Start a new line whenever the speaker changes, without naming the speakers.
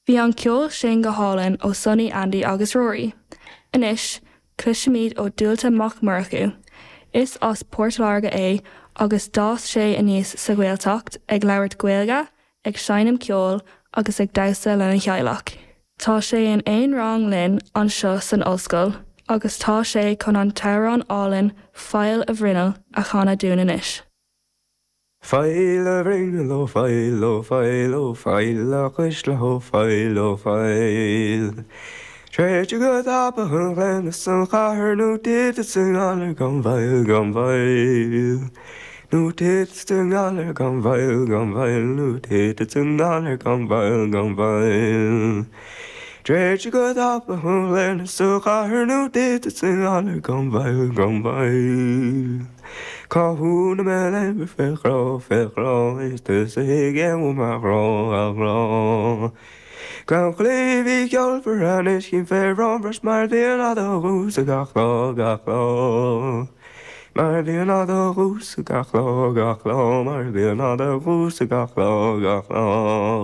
Bhí an ceol sin go hálainn ó Sonny, Andy agus Rory. Anois, cloisfimid ó Dualta Mac Murchú. Is as Port Láirge é agus d'fhás sé aníos sa Ghaeltacht ag labhairt Gaeilge, ag seinm ceoil agus ag damhsa lena theaghlach. Tá sé in aon rang linn anseo san ollscoil agus tá sé chun an t-amhrán álainn 'Faill a Bhruinneall' a chanadh dúinn anois.
Faill a bhruinneall, ó faill, ó faill, ó faill a chuisle, ó faill, ó faill. Tréigte go tapa an ghleann is an chathair nó titfeadsa i ngalar gan mhoill, gan mhoill. Nó titfeadsa i ngalar gan mhoill, gan mhoill, nó titfeadsa i ngalar gan mhoill, gan mhoill. Tréigte go tapa an ghleann is an chathair nó titfeadsa i ngalar gan mhoill, gan mhoill. Cá huair na mbeidh léimh fé ghrá, fé ghrá, is tusa a thuigeann uaim a ghrá, a ghrá. Gleann Chlaímh í ceolmhar anois chím fé bhróin mar bhíonn á do dhúsa gach lá, gach lá. Mar bhíonn á do dhúsa gach lá, gach lá, mar bhíonn á do dhúsa gach lá, gach lá.